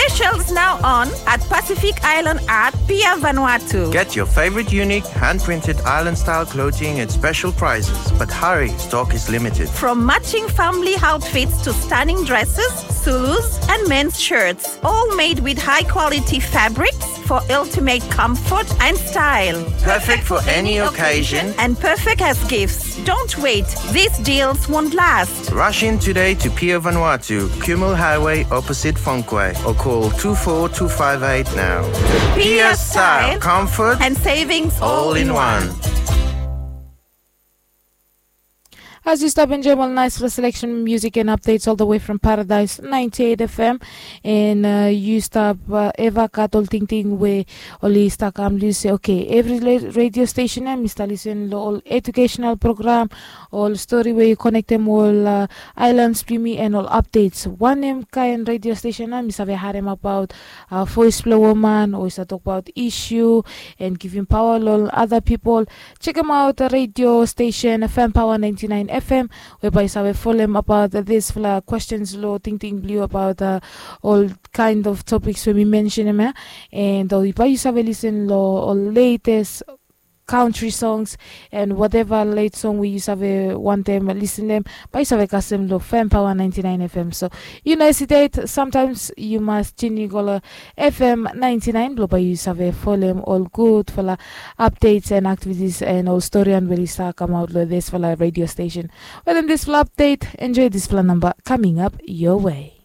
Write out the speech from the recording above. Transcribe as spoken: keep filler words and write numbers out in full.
Specials now on at Pacific Island at Pier Vanuatu. Get your favorite unique hand-printed island-style clothing at special prices, but hurry, stock is limited. From matching family outfits to stunning dresses, Zulus, and men's shirts, all made with high-quality fabrics for ultimate comfort and style. Perfect for any occasion and perfect as gifts. Don't wait, these deals won't last. Rush in today to Pier Vanuatu, Kumul Highway, opposite Fonquay, or call two four two five eight now. Pier style, comfort, and savings all in one. As yu stap enjoem ol naesfala selection, music and updates all the way from Paradise ninety-eight F M. And uh, yu stap uh, eva gat ol tingting we oli stap kam, yu se, okay, every la- radio station em mi stap listen lo ol educational program, ol story we yu konektem ol uh, islands blong mi, and ol updates. Wanem kaen radio station em mi save harem abaot uh, voice blong woman, o yu save tokbaot issue and givim paoa lo ol other people. Chekem aot radio station Fan Power ninety-nine F M, we bae yu save folem abaot disfala questions lo tingting blong yu abaot uh, ol kind of topics we mi mentionem ia. And uh, bae yu save listen lo ol latest country songs and whatever late song we yu save wantem listenem, bae yu save kasem lo Fan Power ninety-nine F M. So yu no hesitate, sometimes yu mas tune in go lo F M ninety-nine blo bae yu save folem ol gudfala updates and activities and ol storian we oli stap kamaot lo disfala radio station. Wetem disfala update, enjoy disfala namba coming up your way.